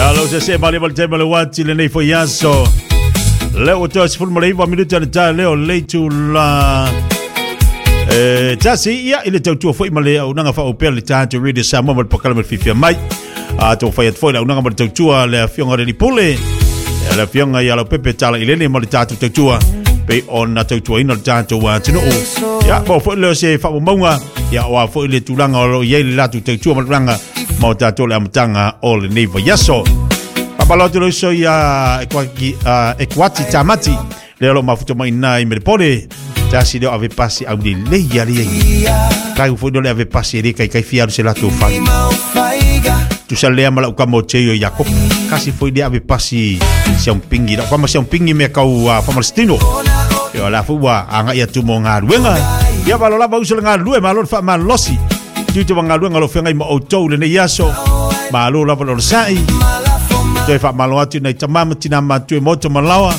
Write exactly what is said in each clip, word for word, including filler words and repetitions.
Alo se se mali mali tema le wati le nei foi aso. Leo to sefulu ma le iva minuta le tae leo le itula e tasi ia i le tautua foi ma le auaunaga faaopea le tatou Radio Samoa ma le polokalame le Fiafia Mai. A tou fai atu foi le auaunaga ma le tautua le afioga le Lipule, le afioga ia Laupepe Tala Ilele ma le tatou tautua pe ona tautuaina le tatou atunuu. Ia mo foi leo se faamauga ia oa foi le tulaga o lo o i ai le latou tautua ma le tulaga ma o tatou le amataga o lenei vaiaso. Faamalo atu le uso ia Ekuati Tamati lea o lo o mafuta mai ina i Melepole. Tasi leo ave pasi au lelei ia lea i. Kai foi leo le ave pasi e le kai kai fia alu se latou fale. Tusa lea ma lau kama o Teio Iakopo. Kasi foi lea ave pasi siang pingi. Lau kama siang pingi mea kau uh, Famalestino. Ia la foi ua agai atu mo galuega. Ia malo lava uso le galulue, malo le faamalolosi. Tiute wa galuega lo feagai ma outou lenei aso. Malo lava le onosai. Toe faamalo atu nai tama ma tina matutua e maota ma laoa.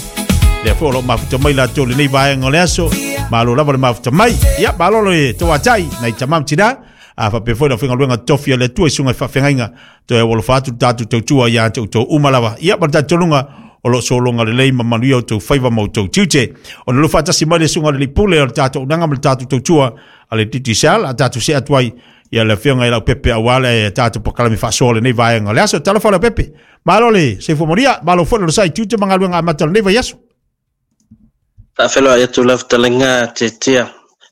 Lea foi o loo mafuta mai latou lenei vaega o le aso. Malo lava le mafuta mai. Ia malo le tauatai nai tama ma tina. A faapea foi le aufaigaluega tofi a le Atua i susuga i faafeagaiga. Toe aualofa atu le tatou tautua ia te outou uma lava. Ia ma le talitonuga o loo sologa lelei ma manuia outou faiva ma outou tiute. Ona lua faatasi mai le susuga i le Lipule o le tatou auaunaga ma le tatou tautua a le Digicel. A tatou see atu ai ia le afioga i Laupepe aua le tatou polokalame faasoa lenei vaega o le aso. Talofa Laupepe. Malo le soifua manuia, malo foi le onosai tiute ma galuega amata o lenei vaiaso. Faafeiloai atu lau fetalaiga Tietia.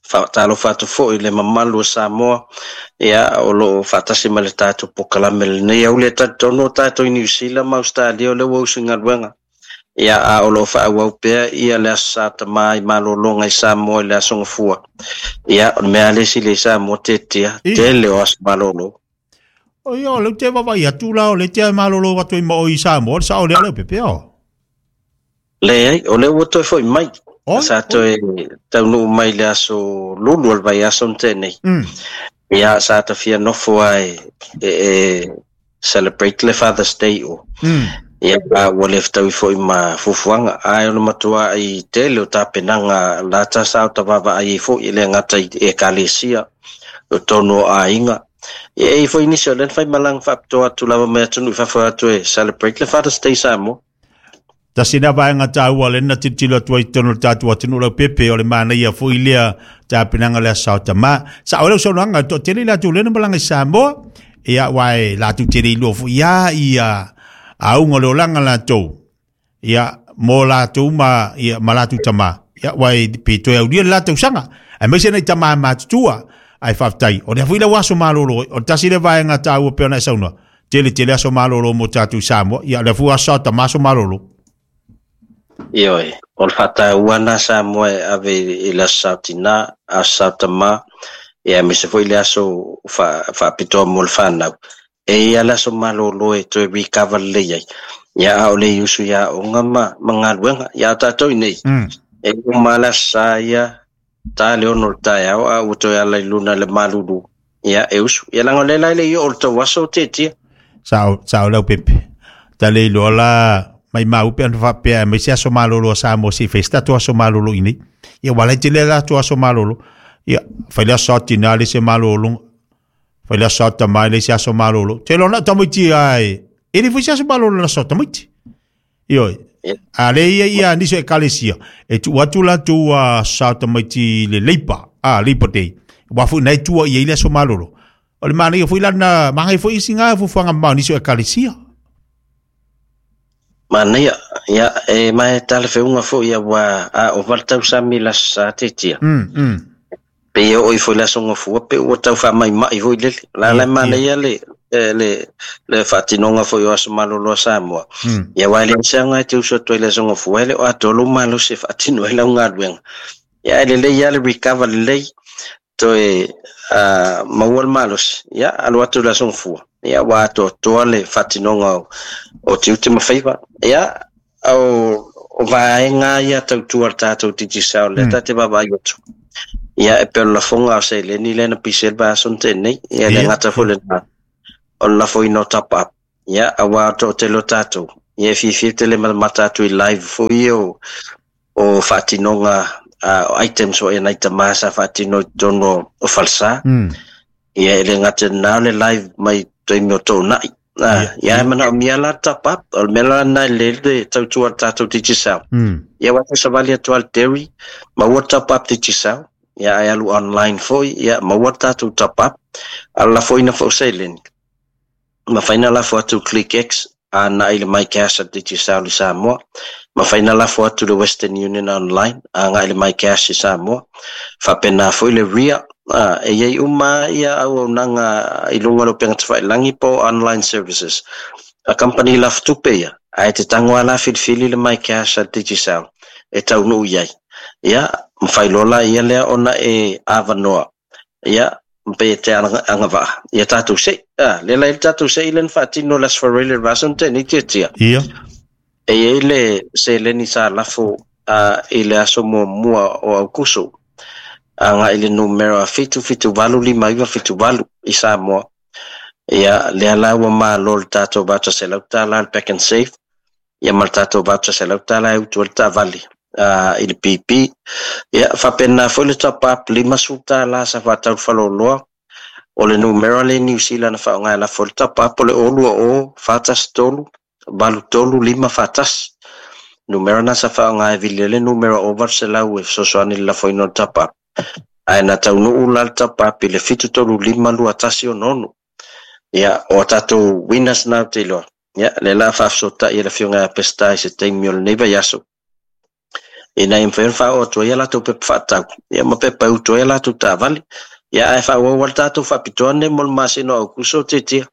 Faatalofa atu foi le mamalu o Samoa ia o loo faatasi mai le tatou polokalame lenei auli. E talitonu o tatou i Niu Sila ma Australia o lea ua usu i galuega ia a o loo faaauau pea ia le Aso Sa Tamā i malologa i Samoa i le Aso Gafua. Ia o le mea lea sili i Samoa Tietia tele o aso malolo. O ia o lea ou te vaavaai atu la o lea te malolo atu ai ma oe i Samoa, le sao lea Leaupepe o? Leai, o lea ua toe foi mai. Sa toe taunuu mai le aso lulu o le vaiaso na tea nei. Ia sa ta fia nofo lava e, e celebrate le Father's Day o. Ia ua le fetaui foi ma fuafuaga, ae o le matuai tele o tapenaga lata sa o ta vaavaai ai foi e le gata i ekalesia o totonu o aiga. Ia e i ai foi nisi o lea na fai malaga faapitoa atu lava mai atunuu i fafo atu e celebrate le Father's Day Samoa. Tasi lea vaega taua lea na tilotilo atu ai i totonu o le tatou atunuu Laupepe, o le manaia foi lea tapenaga o le Aso Sa o Tamā. Sao ai lau saunoaga, e toatele i latou lea na malaga i Samoa, ia aua e latou te le iloa foi lava ia auga o le olaga latou, ia mo latou ma, ia, ma latou tamā. Ia aua e pe toe aulia le la tausaga, aemaise nai tamā matutua. Ae faafetai, o lea foi lau aso malolo, o le tasi lea vaega taua pei ona e saunoa, tele tele aso malolo mo tatou i Samoa, ia o lea foi aso Sa o Tamā aso malolo. Ioe, o le faataua lena Samoa e ave i le Aso Sa o Tinā, Aso Sa o Tamā, ia aemaise foi le aso faapitoa mo le fanau. E ia le aso malolo e toe recover lelei ai. Ia a o le i usu i aoga ma, ma galuega. Ia a tatou i nei, e uma le Aso Sa ia, ta le ono o le taeao, a ua toe ala i luna le malulu. Ia e usu. Ia leaga o lea la e le i oo i le tou aso Tietia. Sao, sao Laupepe. Ta le iloa la mai mau pe ana faapea aemaise aso malolo a Samoa se i fai se tatou aso malolo i nei. Ia ua lai tele latou aso malolo. Ia fai le aso Sa o Tinā le isi malologa. Fai le Aso Sa o Tamā le isi aso malolo. Te iloa na o tamaiti lava e e le foi se aso malolo i le aso o tamaiti. Ioe. A le ia ia nisi o ekalesia e tuu atu latou Aso Sa o tamaiti i le Labour, a Labour Day. Aua foi na e tua i ai le aso malolo. O le manaia foi la lena, manaia foi isi ga fuafuaga mamao a nisi o ekalesia. Manaia, ia, e mae talafeauga foi aua a ova le tausami i le Aso Sa Tietia. Mm, mm. Pe ia oo ifo i le Aso Gafua pe ua tau faamaimai foi lele. La la e manaia le, le, le faatinoga foi o aso malolo a Samoa. Mm. Ia aua e leai se aoga e te usu atu ai i le Aso Gafua, e le o atoa lou malosi e faatino ai lau galuega. Ia e lelei lava le recover lelei, toe uh, maua le malosi, ia alu atu i le Aso Gafua. Ia ua atoatoa le faatinoga o, o tiute ma faiva. Ia o, o vaega ia tautua le tatou Digicel lea ta te vaavaai atu. Ia e pei o le lafoga o seleni lea na pisi ai le vaiaso na tea nei. Ia le gata foi lena o le lafoina o top up. Ia aua o toatele o tatou. Ia e fiafia tele matamata atu i live foi ia o, o faatinoga uh, items foi a nai tamā sa faatino i totonu o, o falesa. Mm. Ia e le gata i lena o le live mai taimi o toonai. Ah, ia manaomia la top up, o le mea la lena e lelei le tautua a le tatou Digicel. Ia ua savali atu lava i le dairy, maua le top up Digicel, ia ae alu online foi, ia maua le tatou top up. A o le lafoina foi o seleni, mafai ona lafo atu i ClickX agai i le MyCash a le Digicel i Samoa. Mafai ona lafo atu i le Western Union online agai i le MyCash i Samoa. Faapena foi le R I A, ah, e i ai uma ia auaunaga i luga o le upega tafailagi po o online services. A company lafotupe ia, ae te tago lava la filifili le MyCash a le Digicel e taunuu i ai. Ia, mafai loa la ia lea ona e avanoa. Ia, pe te agavaa ia tatou se'i. Ah, lea la i le tatou se'i lea na faatino i le Aso Faraile le vaiaso na tea nei Tiatia. Ia. E i ai le seleni sa lafo uh, i le aso muamua o Aukuso agai i le numera fitu fitu valu lima iva fitu valu i Samoa. Ia, lea la ua malo le tatou voucher selau tala le Pack and Save, ia ma le tatou voucher selau tala e utu ai le taavale uh, i le P P. Ia, faapena foi le top up limasefulu tala sa faatau le faleoloa. O le numera le New Zealand na faaaoga e lafo le top up o le o lua o fa tasi tolu valu tolu lima fa tasi. Numera na sa faaaoga e vili ai le numera o valu selau e fesoasoani i le lafoina o le top up. Ae na taunuu la le top up i le fitu tolu lima lua tasi ono ono. Ia, o a tatou winners na ou te iloa. Ia, lea la faafesootai e le afioga ia Peseta i se taimi o lenei vaiaso. Ina ia mafai ona faaoo atu ai a latou pepa faatau, ia ma pepa e utu ai a latou taavale. Ia, ae faaauau ai le tatou faapitoa lenei mo le masina o Aukuso, Tiatia.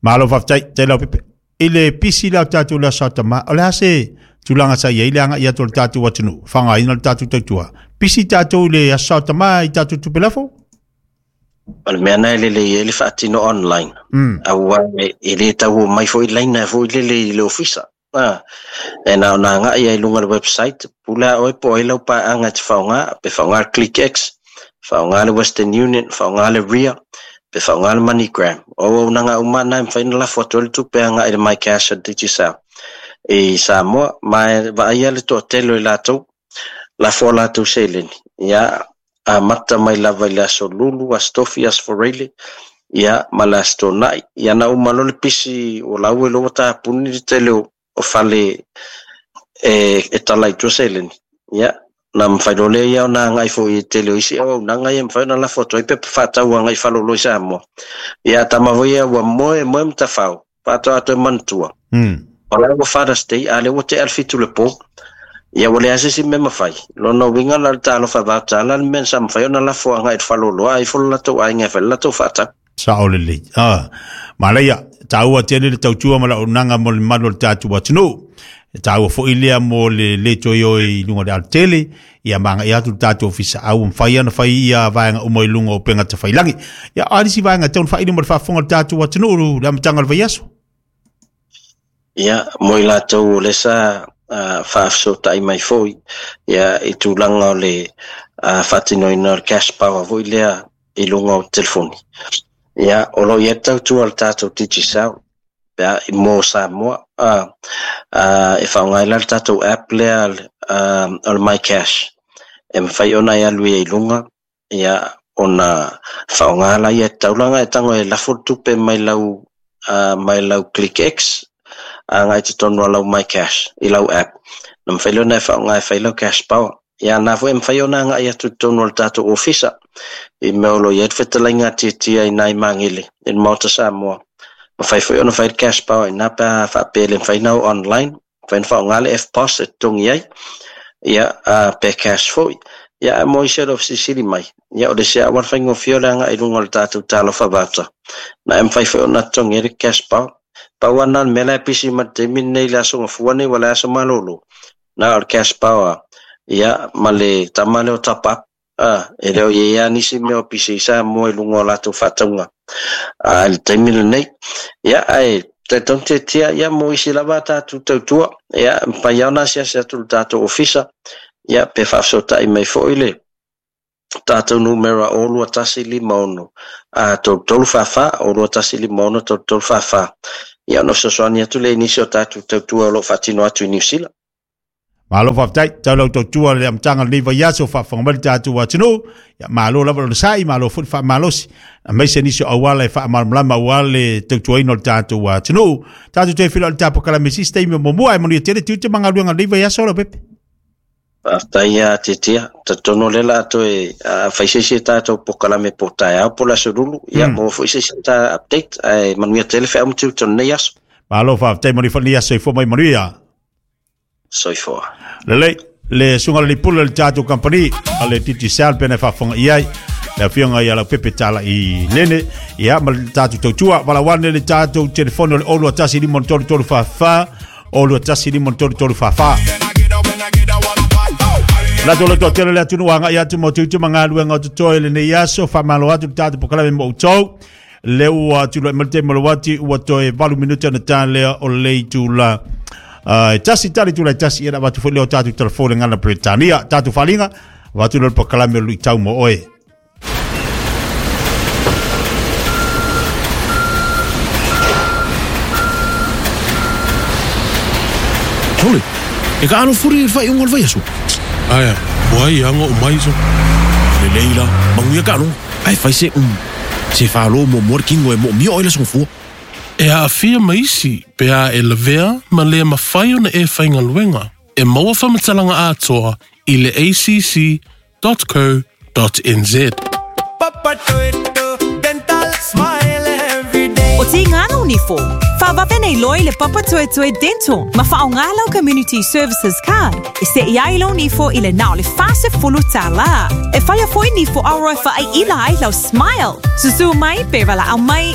Malo faafetai, tele lau pepe. I le pisi lea o tatou le Aso Tama, o le a se tulaga sa i ai le aga'i atu o le tatou atunuu, faaaogaina le tatou tautua. Pisi tatou i le Aso Tama i tatou tupe lafo? O le mea na e lelei ai le faatino online. Mm. Aua e le tau omai foi laina foi lele i le ofisa. Ah, e na ona agai ai i luga o le website, pule a oe po o ai lau paeaga e te faaaoga, pe faaaoga le ClickX, faaaoga le Western Union, faaaoga le R I A, pe faaaoga le MoneyGram. O auaunaga uma na e mafai ona lafo atu ai le tupe agai i le MyCash a Digicel i Samoa, ma e vaaia le toatele o i latou, lafo a latou seleni. Ia, amata mai lava i le aso Lulu, aso Tofi, aso Faraile, ia, ma le aso Toonai. Ia na uma loa le pisi o lau e loa ua tapuni le tele o o fale e, e tala i tua seleni. Ia, na mafai loa lea ia ona agai foi i tele o isi auaunaga ia mafai ona lafo atu ai pepa faatau agai faleoloa i Samoa. Ia, tama foi ia ua moe moe matafao, faatoa toe manatua. Mm. O la ua Father's Day, a lea ua tea le fitu le po. Ia ua leai se isi mea mafai. Lona uiga la le talofa vaotala le mea sa mafai ona lafo agai i le faleoloa ai fo le latou aiga e fai le latou faatau. Sao lelei. Ah, malaia, taua tele le tautua ma le auaunaga mo le mamalu o le tatou atunuu. E taua foi lea mo le le toe o i luga o le alatele, ia ma aga'i atu le tatou ofisa au mafai ona fai ia vaega uma i luga o upega tafailagi. Ia, o a nisi vaega e tatau ona faaili mo le faafofoga o le tatou atunuu le amataga o le vaiaso? Ia, mo i latou o lea sa uh, faafesootai mai foi, ia, i tulaga o le uh, faatinoina o le cash power foi lea i luga o telefoni. Ia, o lo o i ai le tautua a le tatou Digicel pe a mo Samoa, uh, uh, e faaaoga ai la le tatou app lea uh, o le MyCash. E mafai ona e alu ai i luga, ia, ona faaaoga la ia taulaga e tago e lafo le tupe mai lau, uh, mai lau ClickX agai i totonu o lau MyCash i lau app. Na mafai lea ona e faaaoga e fai lau cash power. Ia, na foi e mafai ona agai atu i totonu o le tatou ofisa i mea o lo o i ai le fetalaiga tiatia i nai Magele i le Maota Samoa. Mafai foi ona fai le cash power ina pe a faapea le mafai ona o online, mafai ona faaaoga le F P O S e totogi ai, ia, uh, pe cash foi. Ia, ae mo isi o le fesilisili mai, ia, o le isi auala faigofie o le agai i luga o le tatou talofa voucher. Na e mafai foi ona totogi ai le cash power. Pau lava na o le mea la e pisi ma le taimi lenei i le aso Gafua nei ua le aso malolo. Na o le cash power, ia, ma le tama lea o top up. Ah, e le o i ai lava nisi mea o pisi i Samoa i luga o latou faatauga. Ah, i le taimi lenei. Ia, ae talitonu tiatia, ia, mo isi lava a tatou tautua. Ia, mafai lava ona asiasi atu i le tatou ofisa. Ia, pe faafesootai mai foi le tatou numera o lua tasi lima ono, a tolu tolu fa fa, o lua tasi lima ono, tolu tolu fa fa. Ia, ona fesoasoani atu lea i nisi o tatou tautua o lo o faatino atu i Niu Sila. Malo faafetai tau lau tautua le amataga o lenei vaiaso faafofoga mai le tatou atunuu. Ia malo lava lona sa'i, malo foi le faamalosi, aemaise nisi o auala e faamalamalama aua le tautuaina o le tatou atunuu. Tatou toe feiloai i le tapokala me sisi taimi o muamua, ae manuia tele tiute ma galuega o lenei vaiaso Leaupepe. Faafetai ia Tietia, talitonu o lea o le a toe fai se isi tatou polokalame po o taeao po o le aso lulu, ia maua foi se isi ta update, ae manuia tele feau ma tiute o lenei aso. Malo faafetai, manuia foi lenei aso, soifua mai manuia. Soifua. Lelei, le susuga i le pule o le tatou kamupani a le Digicel pe na faafofoga i ai le afioga ia Leaupepe Talai Lene, ia ma le tatou tautua valaauane le tatou telefoni o le zero two one five three three four four, zero two one five three three four four. Latou le toatele le atunuu agai atu mo tiute ma galuega o totoe lenei aso, faamalo atu le tatou polokalame mo outou. Le ua tulai mai le taimi o le uati ua toe valu minute ona ta lea o le itula e tasi tali tulai tasi, ia na avatu foi lea o tatou telefoni gana Peretania tatou faaaliga avatu lea o le polokalame o le luitau mo oe. Sole, e ka alo furi i le faaiuga o le vaiaso. Aia, ua ai aga o mai so. Lelei la, manuia ka aloga, ae fai se um. Se whālo mo mua le kingo e mo mio oe le songofua. E aafia ma isi pe a e lavea ma le mafai ona e faigaluega. E maua faamatalaga atoa i le a c c dot co dot n z. O tīngana o nifo, whawawe nei loi le papa tuetue dental, ma whaonga lau Community Services Card, e se iai lau nifo i le nao le whase fulu tālā. E whaia foi nifo auroi whaai ila ai lau smile. Susu mai, pe wala au mai